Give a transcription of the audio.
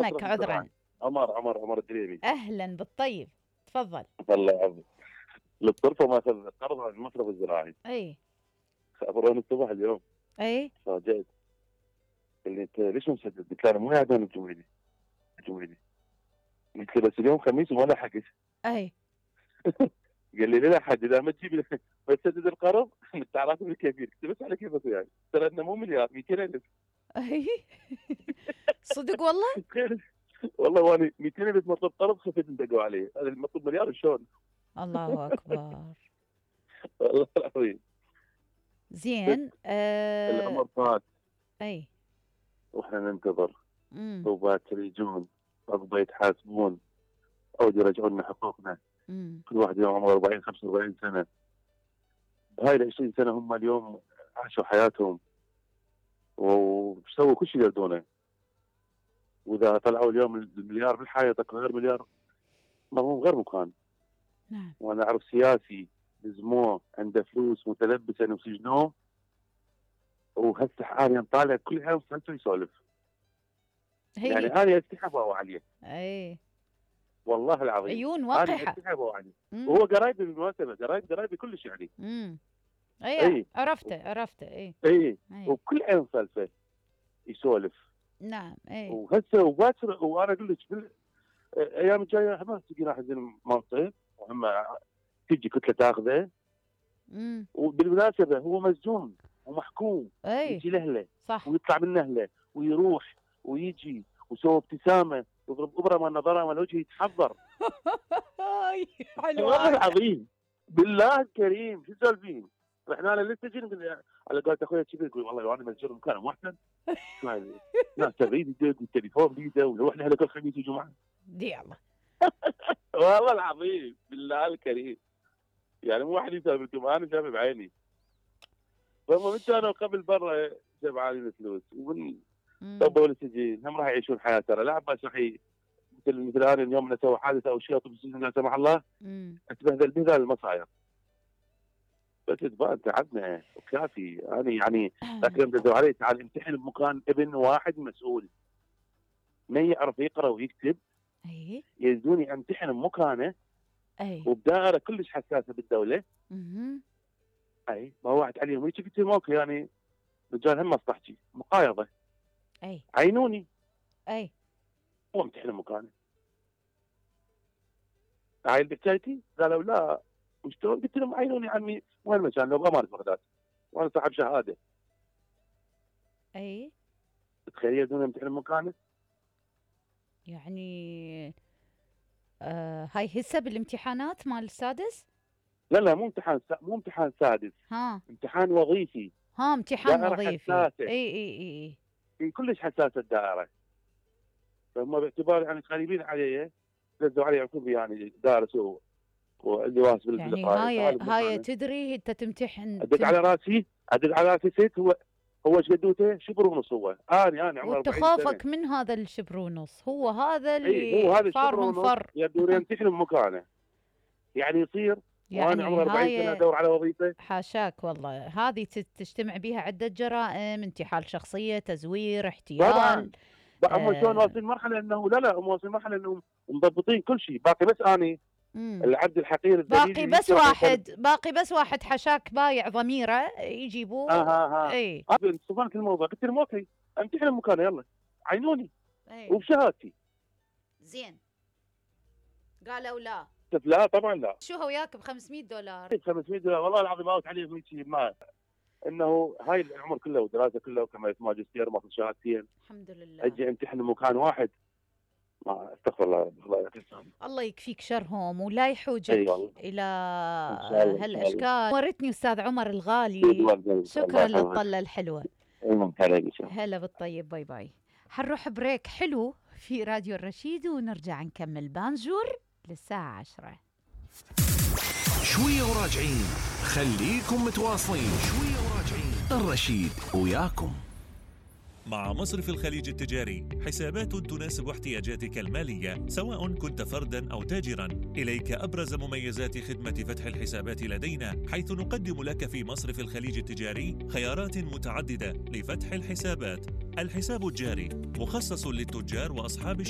اسمك عذرا. عمر الدريبي. اهلا بالطيب، تفضل. الله يعافيك. للطرفه ماخذ قرض عن المصرف الزراعي. اي خبروني الصبح اليوم. اي فاجأت. قال لي انت ليش مسدد؟ قلت له انا مو قاعد انا بجويدي. قلت له بس اليوم خميس وما لحقت. اي قال لي لا حد اذا ما تجيب بسدد القرض انت عارف الكثير. قلت بس على كيفك يعني ترى انه مو مليار 200,000. اي صدق والله؟ والله وانا 200,000 مطلب قرض خفت دقوا عليه. هذا المطلوب مليار شلون؟ الله اكبر. والله العظيم. زين الامر فات اي واحنا ننتظر وباكر يجون قضى يتحاسبون او يرجعون لنا حقوقنا. كل واحد يوم عمره 40 45 سنه. بهاي ال 20 سنه هم اليوم عاشوا حياتهم وسووا كل شيء يقدرونه. واذا طلعوا اليوم المليار بالحائط غير مليار ما هو غير مكان. نعم. وانا اعرف سياسي لزموه عنده فلوس متلبسه وسجنوه وهسه حاليا طالع كل يوم سالته يسولف. يعني انا استحبوا عليه. اي والله العظيم عيون وقحه. انا استحبوا عليه. وهو قرايبي بالمناسبه قرايبي كلش يعني. اي عرفته اي وكل يوم سالفه يسولف. نعم. اي وهسه وباكر وانا اقول لك الايام الجايه ما تجي راح ينزل منصب وهم تجي كتله تاخذه. وبالمناسبه هو مسجون ومحكوم. يجي لاهله صح ويطلع من اهله ويروح ويجي ويسوي ابتسامه ويضرب ابره مال نظاره مال وجهه يتحضر. حلو والله العظيم بالله الكريم شو سالفين؟ رحنا له للسجن على قولة اخوي كذا يقول والله انا مسجون مكان محسن. ناس تغيب يدق والتليفون بيده ونروح له كل خميس وجمعه. دي الله. والله العظيم بالله الكريم. يعني مو واحد يسولف لكم انا شايف بعيني. فهم من كانوا قبل برا جمعانين الفلوس ومن طبوا للسجين هم راح يعيشون حياه ترى لا عباس راح مثل انا اليوم انا اسوي حادثه او شيء اطلب السجن لا سمح الله اتبهدل بهذا المصاير. بس تبان تعبنا وكافي. انا يعني ذاك اليوم دزوا علي تعال امتحن بمكان ابن واحد مسؤول ما يعرف يقرا ويكتب. اي يزوني امتحن بمكانه. اي وبدائره كلش حساسه بالدوله. اي ما وعد عليهم هيك قلت لهم اوكي يعني رجال هم مصلحتي مقايضه. اي عينوني. اي هو امتحن بمكانه. هاي البكايتي قالوا لا وشلون؟ قلت لهم عينوني عمي وين المكان لو بامانه بغداد وانا صاحب شهاده. اي تخيل يزوني امتحن بمكانه. يعني هاي هسه بالامتحانات مال السادس؟ لا مو امتحان سادس. امتحان وظيفي. امتحان وظيفي. حساسة. اي كلش حساسه الدائره. فهم باعتبار يعني قريبين علي دزوا علي عقب يعني دارس واللي واسب يعني هاي تدري انت تمتحن ادق على راسي ست هو ايش قدوته شبر ونص. هو انا عمري 40 سنه وتخافك من هذا الشبر ونص. هو هذا اللي هو هذا صارهم فر يبدو يمتحن بمكانه يعني يصير. يعني وانا عمري 40 سنه ادور على وظيفه. حاشاك والله. هذه تجتمع بها عده جرائم، انتحال شخصيه، تزوير، احتيال. هم شلون واصلين مرحله انه لا هم واصلين مرحله انهم مضبطين كل شيء. باقي بس اني العبد الحقير باقي بس واحد حشاك بايع ضميره يجيبوه. اي صفنت الموضوع قلت لهم اوكي امتحن مكانه يلا عينوني. وبشهادتي. زين قالوا لا طبعا لا. شو هو وياك ب $500؟ $500 والله العظيم اوت عليهم هيك ما انه هاي العمر كله ودراسه كله وكما ماجستير ماخذ شهادتين. الحمد لله. اجي امتحن مكان واحد ما استغفر الله. الله يكفيك شرهم ولا يحوجك الى هالاشكال. ورتني استاذ عمر الغالي. شكرا للطله الحلوه. هلا بالطيب. باي باي. حنروح بريك حلو في راديو الرشيد ونرجع نكمل بانجور للساعه 10. شويه وراجعين. خليكم متواصلين. شويه وراجعين. الرشيد وياكم. مع مصرف الخليج التجاري حسابات تناسب احتياجاتك المالية سواء كنت فرداً أو تاجراً. إليك أبرز مميزات خدمة فتح الحسابات لدينا، حيث نقدم لك في مصرف الخليج التجاري خيارات متعددة لفتح الحسابات. الحساب الجاري مخصص للتجار وأصحاب